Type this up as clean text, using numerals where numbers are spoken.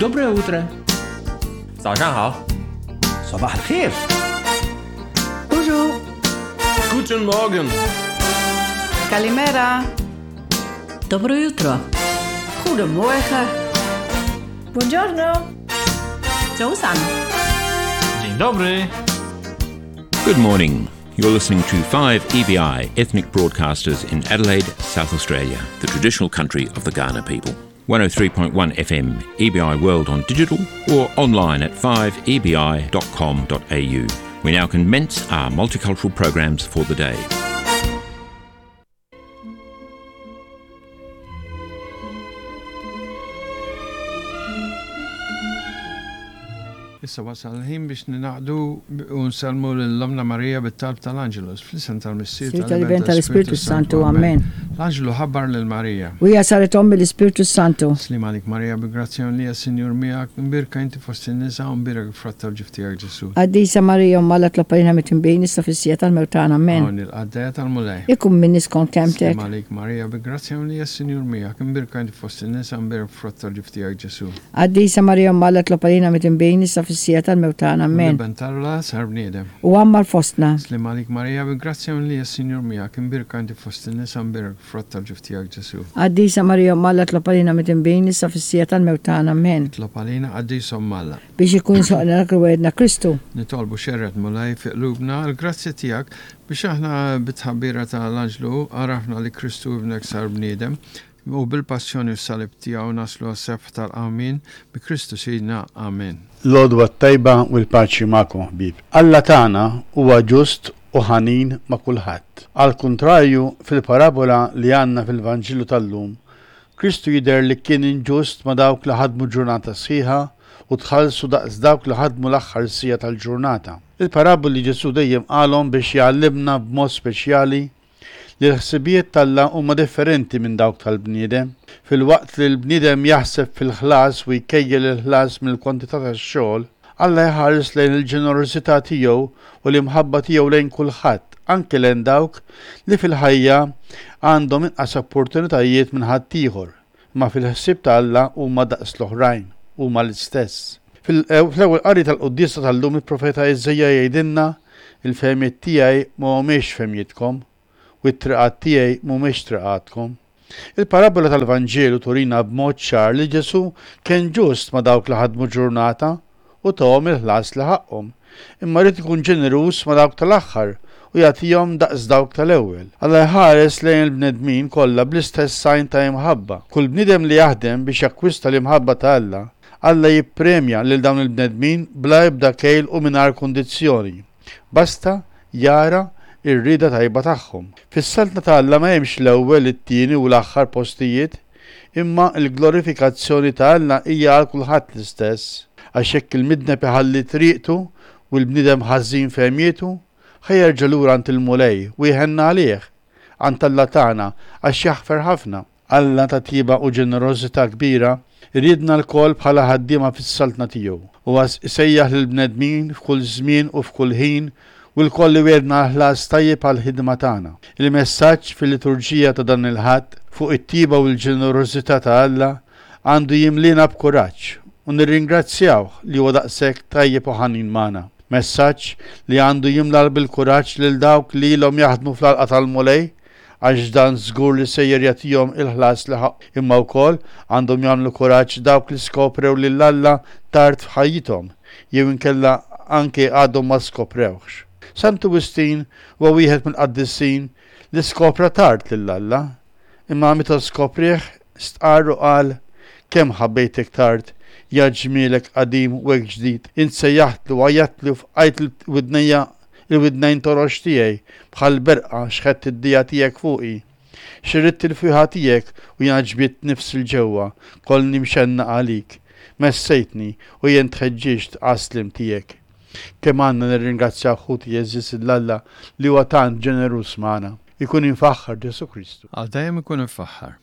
Доброе утро. 早上好。 صباح الخير. Bonjour. Guten Morgen. Kalimera. Dobro jutro. Goedemorgen. Buongiorno. 早晨。 Dzień dobry. Good morning. You're listening to 5EBI Ethnic Broadcasters in Adelaide, South Australia, the traditional country of the Ghana people. 103.1 FM, EBI World on digital or online at 5ebi.com.au. We now commence our multicultural programs for the day. Issa wasal il-ħin biex ninaqdu u nsellmu lil Ommna Marija bit-talb tal-Angelus, fl-isem tal-Missier, Sir tal-Iben tal-Ispirtu Santu, Amen. L-Anġlu ħabbar lil Marija. U hija saret omm mill-Ispirtu Santu. Slim għalik Marija bi grazzja mimlija Sinjur miegħek, imbierka inti fost in-nisa u mbierek il-frott tal-ġuf tiegħek Ġesù. Qaddisa Marija Omm Alla tlob għalina midinbin issa fis-siegħa tal-mewt tagħna. Amen. Hawn il-qaddejja tal-Mulej. Ikun minni skont kelmtek. Slim għalik Marija bi grazzja mimlija Sinjur miegħek, imbierka inti fost in-nisa u mbierek il-frott tal-ġuf tiegħek Ġesù. Qaddisa Marija Omm Alla tlob għalina midinbin issa fis-siegħa tal-mewt tagħna. Amen. L-Iben t'Alla sar bniedem. U għammar fostna. Slim għalik Marija bi grazzja mimlija Sinjur miegħek, imbierka inti fost in-nisa u mbierek il-frott tal-ġuf tiegħek Ġesù. Qaddisa Marija Omm Alla tlob għalina midinbin issa fis-siegħa tal-mewt tagħna. Amen. Itlob għalina qaddisa Omm Alla. Biex ikun soqna dak li wegħedna Kristu. Nitolbu xerred Mulej fi qlubna l-grazzja tiegħek biex aħna bit-tħabbira ta' l-anġlu għarafna li Kristu ibnek sar bniedem u bil-passjoni u s-salib tiegħu naslu għas-sebħ tal-qawmien bi Kristu Sidna. Amen. L-għodwa t-tajba u l-paċi magħkom ħbieb. Alla tagħna huwa ġust u ħanin ma' kulħadd. Għall-kuntrarju, fil-parabola li għandna fil-Vanġelu tal-lum, Kristu jidher li kien inġust ma' dawk li ħadmu ġurnata sħiħa u tħallsu daqs dawk li ħadmu l-aħħar siegħa tal-ġurnata. Il-paraboli Ġesù dejjem qalhom biex jgħallimna b'mod speċjali li l-ħsibijiet t'Alla huma differenti minn dawk tal-bniedem. Filwaqt li l-bniedem jaħseb fil-ħlas u jkejjel il-ħlas mill-kwantità tax-xogħol, Alla jħares lejn il-ġenerożità tiegħu u l-imħabba tiegħu lejn kulħadd, anke lejn dawk li fil-ħajja għandhom inqas opportunitajiet minn ħaddieħor, imma fil-ħsieb ta' Alla huma daqs l-oħrajn, huma l-istess. Fl-ewwel qari tal-quddiesa tal-lum il-profeta Iżaija jgħidilna, Il-fehmiet tiegħi ma humiex fehmietkom, u t-triqat tiegħi mhumiex triqatkom. Il-parabbola tal-Vanġelu turina b'mod ċar li Ġesù kien ġust ma' dawk li ħadmu ġurnata u tahom il-ħlas li ħaqqhom, imma ried ikun ġeneruż ma' dawk tal-aħħar u jagħtihom daqs dawk tal-ewwel. Alla jħares lejn il-bnedmin kollha bl-istess għajn ta' imħabba. Kull bniedem li jaħdem biex jakkwista l-imħabba ta' Alla, Alla jippremja lil dawn il-bnedmin bla ebda kejl u mingħajr kundizzjoni, basta jara r-rieda tajba tagħhom. Fis-Saltna ta' Alla ma hemmx l-ewwel, it-tieni u l-aħħar postijiet, imma l-glorifikazzjoni ta' Alla hija għal kulħadd l-istess. Għax jekk il-midneb iħalli triqtu u l-bniedem ħażin fehmietu, ħa jerġa' lura għand il-Mulej u jħenn għalih, għand Alla tagħna, għax jaħfer ħafna. Alla ta' tjieba u ġenerożità kbira jridna lkoll bħala ħaddiema fis-Saltna tiegħu. Huwa jsejjaħ lill-bnedmin f'kull żmien u f'kull ħin u lkoll iwiegħdna ħlas tajjeb għall-ħidma tagħna. Il-messaġġ fil-liturġija ta' dan il-Ħadd fuq it-tjieba u l-ġenerożità ta' Alla għandu jimliena b'kuraġġ u nirringrazzjawh li huwa daqshekk tajjeb u ħanin magħna. Messaġġ li għandu jimla bil-kuraġġ lil dawk li ilhom jaħdmu fl-għalqa tal-Mulej għax dan żgur li sejjer jagħtihom il-ħlas li ħaqqhom, imma wkoll għandhom jagħmlu kuraġġ dawk li skoprew lil Alla tard f'ħajjithom jew inkella anke għadhom ma skoprewhx. Santu Wistin huwa wieħed mill-qaddisin li skopra tard lil Alla, imma meta skoprieh stqarr u qal, Kemm ħabbejtek tard, ja ġmielek qadim u hekk ġdid, int sejjaħtli u għajjattli u fqajt widnejja Il-widnejn torox tiegħi, bħal berqa xħedt id-dija tiegħek fuqi. Xirridt il-fwieħa tiegħek u jiena ġbidt nifsi 'l ġewwa, kollni mxennaq għalik. Messejtni u jien tħeġġiġt għas-sliem tiegħek. Kemm għandna nirringrazzjaw ħuti għeżież 'l Alla li huwa tant ġeneruż magħna. Ikun imfaħħar Ġesù Kristu. Għal dejjem ikun imfaħħar.